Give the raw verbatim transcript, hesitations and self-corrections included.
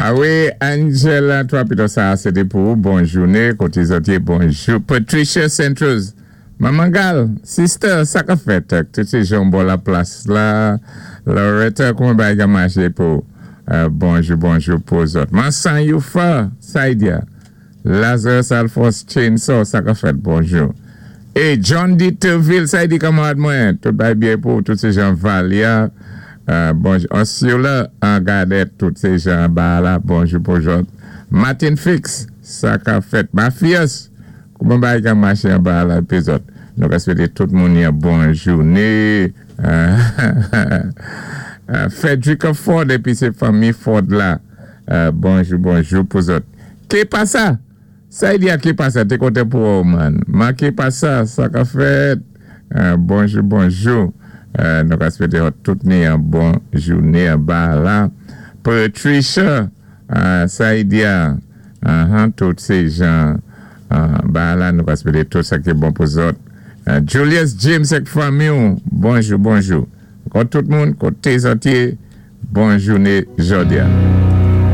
A wi, Angela, twa pito sa, sé té pou ou. Bon jouné, koté zòt yé, bonjou. Patricia Centros, Maman Gal, sister, sa ka fèt? Tout sé jan bò la plas la. Loretta, kouman bagay ka maché pou? Euh, bonjou, bonjou pou zòt. Mansan Youfa, Saidia. Lazarus Alphonse Chainsaw, sa ka fèt, bonjou. É John D. Terville, sa di kanmarad mwen, tout bay byen pou tout sé jan Valia. Euh, bonjou. Osula, an gadé tout sé jan ba la, bonjou bonjou. Martin Fix, sa ka fèt. Mafias, kouman bagay ka maché an ba la, pi zòt. Nou ka swété tout moun yon bon jouné. Euh, euh, Frederica Ford, épi sé fanmi Ford la. Euh, bonjou, bonjou pou zòt. Ké pasa? Sa y di a ké pasa? Té kontan pou ou, man. Man ké pasa? Sa ka fèt? Euh, bonjou, bonjou. Euh, nou ka swété tout ni yon bon jouné an ba la. Patricia, euh, sa y di a, uh-huh, tout sé jan uh, ba la, nou ka swété tout sa ki bon pou zòt. Euh, Julius James ak fanmi, bonjou, bonjou. Kon tout moun, koté zòt yé, bon jouné jòdi a.